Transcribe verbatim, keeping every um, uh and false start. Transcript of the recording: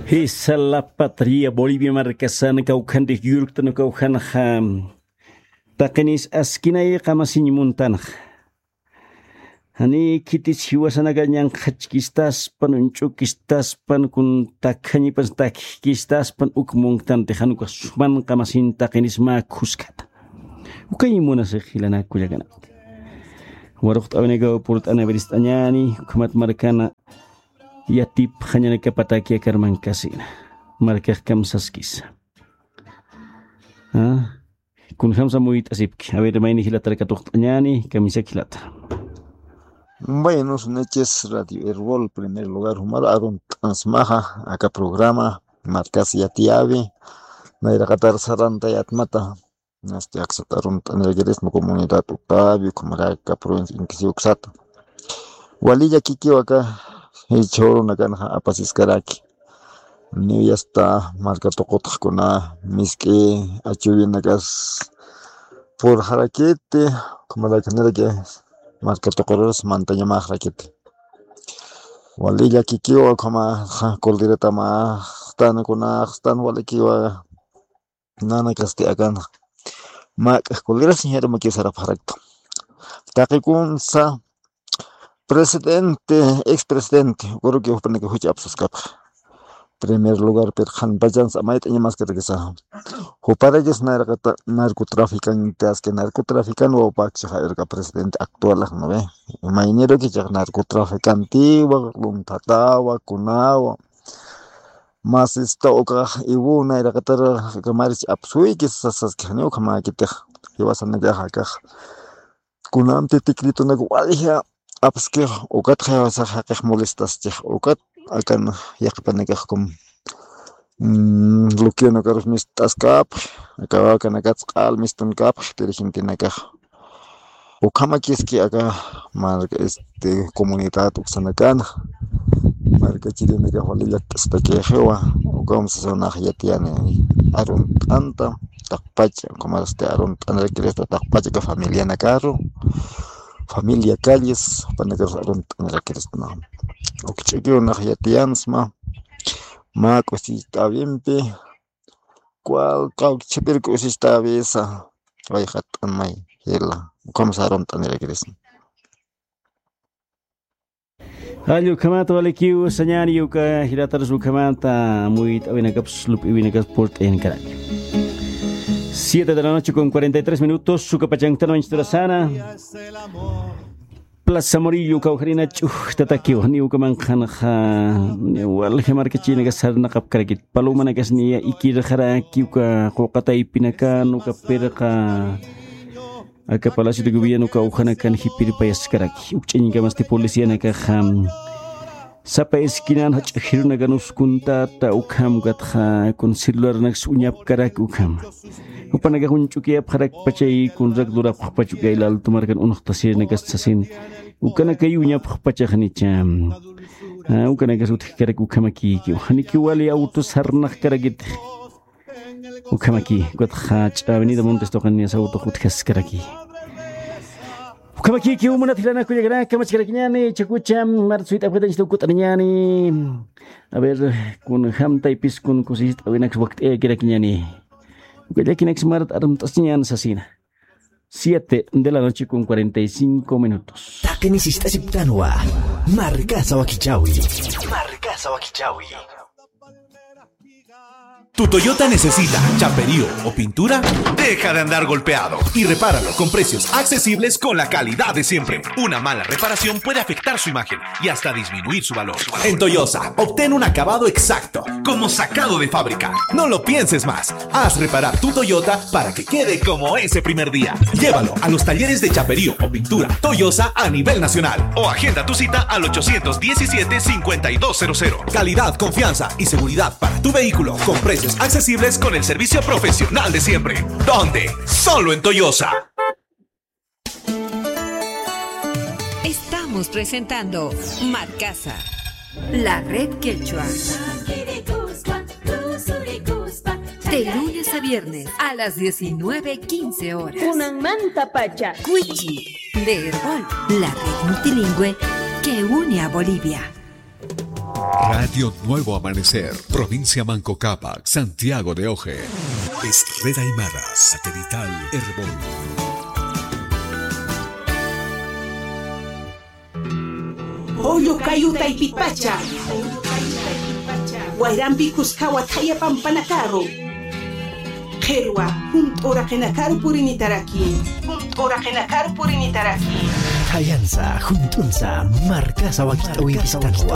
Jisa la patria Bolivia markasan kawkhanrix yurktan kawkhanxa taqinis askinay qamasiñ muntanxa. Jani khitis jiwasanaka ñanqhachkistaspan, uñch'ukistaspan, kun takhañipas takkistaspan uk munktanti, jan ukax suman qamasiñ taqinis mä khuskata. Ukañ munasix jilanak kullakanakti. Waruqt'awinakaw purt'anawirist'añäni, ukhamat markana yatipxañanakapataki akarmankasina. Markax kamsaskisa. ¿Ah? Kunjamsa muyt'asipki. A ver, mayni jilatar katuqt'añäni, kamisaki jilata. Buenas noches, Radio Erbol, primer lugar, jumar arunt'ansmaxa, aka programa, markas yatiyäwi, nayraqatar sarantayätmata, nasti aksat arunt'anirakirisma comunidad Octavio, ukhamaraki provincia Inti Siwa uksata. Wali llakikiw aka jichhürunakanxa apasiskaraki. Niw yasta marka tuqutxkuna misk'i achuwinakas purxarakiti, ukhamaraki niraki marka tuqurus mantañamaxrakiti. Wali llakikiwa, ukhamaxa kuldiratamaxtan kunaxtan walikiwa. Nanakasti akanxa. Mak'ax kulirasiñ jirumakiw sarapxarakta. Taqikunsa presidente, ex presidente, ukaruki jupanaka juch apsaskapxa. Primer lugar, pero qhanpachansa mayt'añamaskarakisa. Juparakis nayraqata narcotraficante, aski narcotraficante wawpakchaxa irka presidente actual, ¿no ve? Imaynirukichax narcotraficantewa, lunthatawa, kunawa. Masista ukax iwunayraqatar kamarich apsuyki sasaski, janiw ukhamäkitix jiwasanakax akax. Kunamti tikritunaka walja apskix, ukatxa jiwasax jaqix molestaschix, ukat akan yaqhipanakax kum, mm, luquionakarus mist'askapxi, aka wakanakats q'al mistunkapxi, pero gentenakax. Ukhamakiski aka marka, este, comunidad uksanakana. Marka chirinakax wali llakt'astakixiwa. Ukham sasanax yatiyani arunt'anta, taqpacha, ukhamarasti arunt'anirakirista taqpacha aka familianakaru. Familia Calles, jupanakarus arunt'anirakirista. Ukch'ukiw nax yatiyansma. Mä k'usicht'äwimpi. Cual kawkchapir k'usicht'äwisa, wayqat'an may jila, ukham sarumt'anirakirisna. Jall ukhamata walikiw sañäni, uka jilatarus ukhamata amuyt'awinakaps lup'iwinakaps purt'ayankaraki. Siete de la noche con cuarenta y tres minutos, uka pachanktan wañchturasana. Plaza Murillo kawkharina ch'ujtatakiw, janiw ukamanxa, niw walja markachinakas sarnaqapkarakit, palomanakas niya ikirxaraki uka quqa taypinakan, uka pirqa, aka Palacio de Gobierno kawkhanakan jipirpayaskaraki, ukch'añkamasti policianakaxa, sapa esquinan jach'a jirunakan uskuntata ukham, ukatxa kun celularnaks uñapkaraki ukham. Jupanakax uñch'ukiyapxarakpacha y kunrak lurapxpacha uka Ayllu Alto markan unuxtasirinakas sasin, ukanakay uñapxpachaxnicha. Ah, ukanakas utjkarak ukhamakïkiw. Janikiw wali auto sarnaqkarakitix. Ukhamakï, ukatxa ch'avenida Montes tuqiniyas autox utjaskaraki. Ukhamakïkiw munat jilanaka kullakanaka, kamachkarakiñäni, chakucha, marat suyt'apkatañchita ukut'aniñäni. A ver, kunjam taypis kun kusist'awinaks wakt'ayakirakiñäni. Uka llakinaks marat armt'asiñäni sasina. Siete de la noche con cuarenta y cinco minutos. Taqini sist'asiptanwa. Markasa wakichawi. Markasa wakichawi. ¿Tu Toyota necesita chaperío o pintura? Deja de andar golpeado y repáralo con precios accesibles, con la calidad de siempre. Una mala reparación puede afectar su imagen y hasta disminuir su valor. En Toyosa, obtén un acabado exacto, como sacado de fábrica. No lo pienses más. Haz reparar tu Toyota para que quede como ese primer día. Llévalo a los talleres de chaperío o pintura Toyosa a nivel nacional o agenda tu cita al ochocientos diecisiete, cincuenta y dos cero cero. Calidad, confianza y seguridad para tu vehículo con precios accesibles, con el servicio profesional de siempre. ¿Dónde? Solo en Toyosa. Estamos presentando Markasa, la red quechua. De lunes a viernes a las diecinueve quince horas. Kunanmantapacha. Cuichi, de Erbol, la red multilingüe que une a Bolivia. Radio Nuevo Amanecer, provincia Manco Cápac, Santiago de Oje. Es Red Aymara, satelital Erbol. Pollo kayu taypitpacha. Wayrampi kuskawa thaya pampanakaru. Qhirwa, junt'u uraqinakaru purinitaraki. Junt'u uraqinakaru purinitaraki. Thayansa, junt'unsa, markasa wakit'awimpistanwa.